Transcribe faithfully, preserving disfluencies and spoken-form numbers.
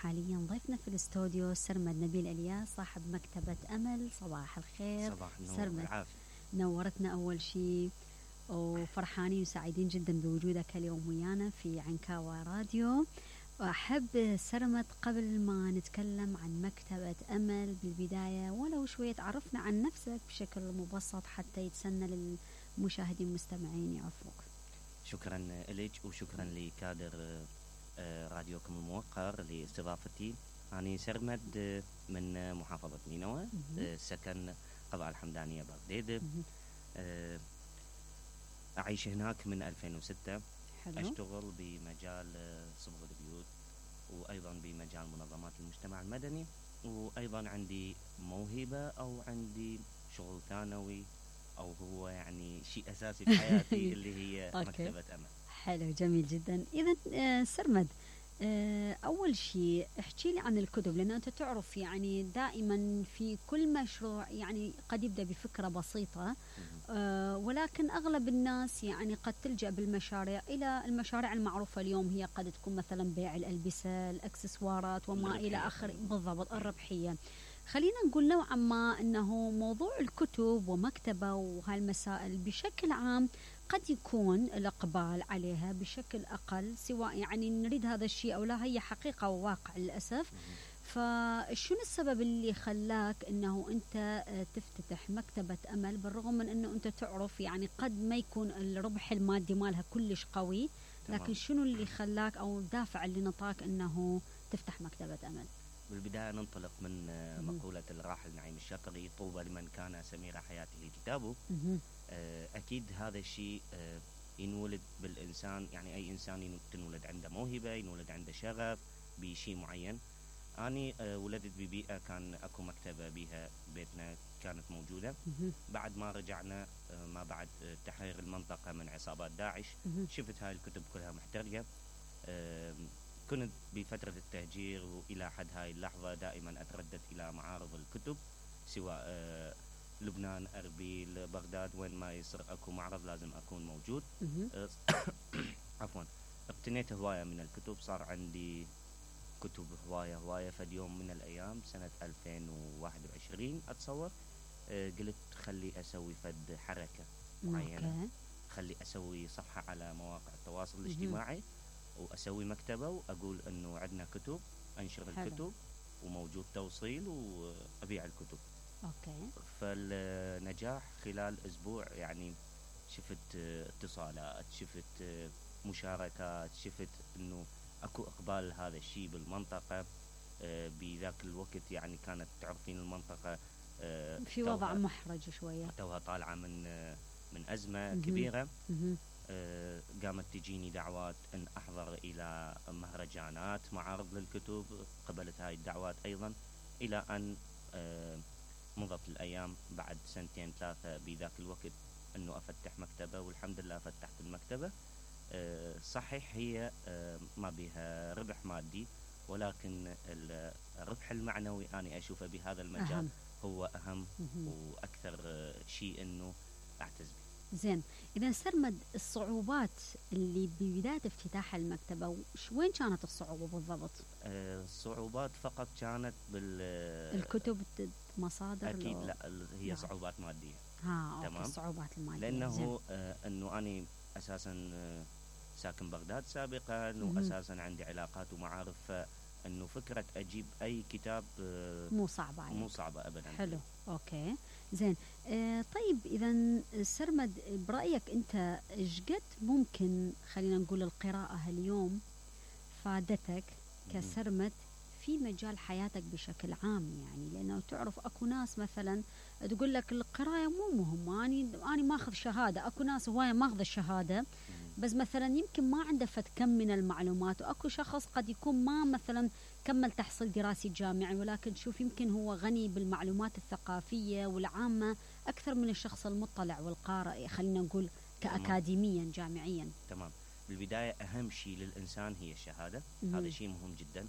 حاليا ضيفنا في الاستوديو سرمد نبيل الياس صاحب مكتبة أمل. صباح الخير. صباح النور سرمد، والعافية. نورتنا أول شيء وفرحانين وسعيدين جدا بوجودك اليوم ويانا في عنكاوى راديو. وأحب سرمد قبل ما نتكلم عن مكتبة أمل بالبداية ولو شوية تعرفنا عن نفسك بشكل مبسط حتى يتسنى للمشاهدين المستمعين يعرفوك. شكرا لك وشكرا لكادر راديوكم الموقر لاستضافتي. أنا سرمد من محافظة نينوى، سكن قضاء الحمدانية بغداد. أعيش هناك من ألفين وستة. حلو. أشتغل بمجال صبغ البيوت وأيضا بمجال منظمات المجتمع المدني، وأيضا عندي موهبة أو عندي شغل ثانوي أو هو يعني شيء أساسي في حياتي اللي هي مكتبة أمل. حلو، جميل جدا. إذا آه سرمد، آه أول شيء احكي لي عن الكتب، لأن أنت تعرف يعني دائما في كل مشروع يعني قد يبدأ بفكرة بسيطة، آه ولكن أغلب الناس يعني قد تلجأ بالمشاريع إلى المشاريع المعروفة اليوم، هي قد تكون مثلا بيع الألبسة، الأكسسوارات وما إلى آخره. بالضبط، الربحية. خلينا نقول نوعا ما أنه موضوع الكتب ومكتبة وهالمسائل بشكل عام قد يكون الإقبال عليها بشكل أقل، سواء يعني نريد هذا الشيء أو لا، هي حقيقة وواقع للأسف. فشون السبب اللي خلاك أنه أنت تفتتح مكتبة أمل بالرغم من أنه أنت تعرف يعني قد ما يكون الربح المادي مالها كلش قوي، لكن شنو اللي خلاك أو الدافع اللي نطاك أنه تفتح مكتبة أمل؟ بالبداية ننطلق من مقولة الراحل نعيم الشاطري: طوبى لمن كان سمير حياته كتابه. أكيد هذا الشيء ينولد بالإنسان، يعني أي إنسان تنولد عنده موهبة، ينولد عنده شغف بشيء معين. أنا ولدت ببيئة كان أكو مكتبة بها بيتنا كانت موجودة. بعد ما رجعنا ما بعد تحرير المنطقة من عصابات داعش، شفت هاي الكتب كلها محترقة. كنت بفترة التهجير وإلى حد هاي اللحظة دائما أتردد إلى معارض الكتب، سواء لبنان، أربيل، بغداد، وين ما يصير أكو معرض لازم أكون موجود. عفوا. اقتنيت هواية من الكتب، صار عندي كتب هواية هواية. فد يوم من الأيام سنة ألفين وواحد وعشرين أتصور، قلت خلي أسوي فد حركة معينة، خلي أسوي صفحة على مواقع التواصل الاجتماعي وأسوي مكتبة وأقول أنه عندنا كتب، أنشر الكتب وموجود توصيل وأبيع الكتب. أوكي. فالنجاح خلال أسبوع يعني شفت اتصالات، شفت مشاركات، شفت أنه أكو إقبال هذا الشيء بالمنطقة. بذاك الوقت يعني كانت تعرفين المنطقة في وضع محرج شوية، توها طالعة من من أزمة كبيرة. قامت تجيني دعوات أن أحضر إلى مهرجانات، معارض للكتب، قبلت هاي الدعوات أيضا، إلى أن مضت الأيام بعد سنتين ثلاثة بذاك الوقت أنه أفتح مكتبة، والحمد لله فتحت المكتبة. صحيح هي ما بها ربح مادي، ولكن الربح المعنوي أنا أشوفه بهذا المجال أهم. هو أهم وأكثر شيء أنه أعتز به. زين، إذا سرمد الصعوبات اللي ببداية افتتاح المكتبة وين كانت الصعوبة بالضبط؟ الصعوبات فقط كانت بالكتب، مصادر؟ أكيد لا، هي لا. صعوبات مادية. ها تمام. الصعوبات المادية لأنه آه أنه أنا أساسا آه ساكن بغداد سابقا، وأساسا عندي علاقات ومعارف، أنه فكرة أجيب أي كتاب آه مو صعبة مو صعبة أبدا. حلو. أوكي زين. آه طيب إذا سرمد برأيك أنت إيش قد ممكن خلينا نقول القراءة اليوم فادتك كسرمد في مجال حياتك بشكل عام؟ يعني لأنه تعرف أكو ناس مثلا تقول لك القراءة مو مهمة، أنا أنا ما أخذ شهادة. أكو ناس هواية ما أخذ الشهادة بس مثلا يمكن ما عنده فت كم من المعلومات، وأكو شخص قد يكون ما مثلا كمل تحصيل دراسي جامعي، ولكن شوف يمكن هو غني بالمعلومات الثقافية والعامة أكثر من الشخص المطلع والقارئ، خلينا نقول كأكاديميا جامعيا. تمام. بالبداية أهم شيء للإنسان هي الشهادة، هذا شيء مهم جدا.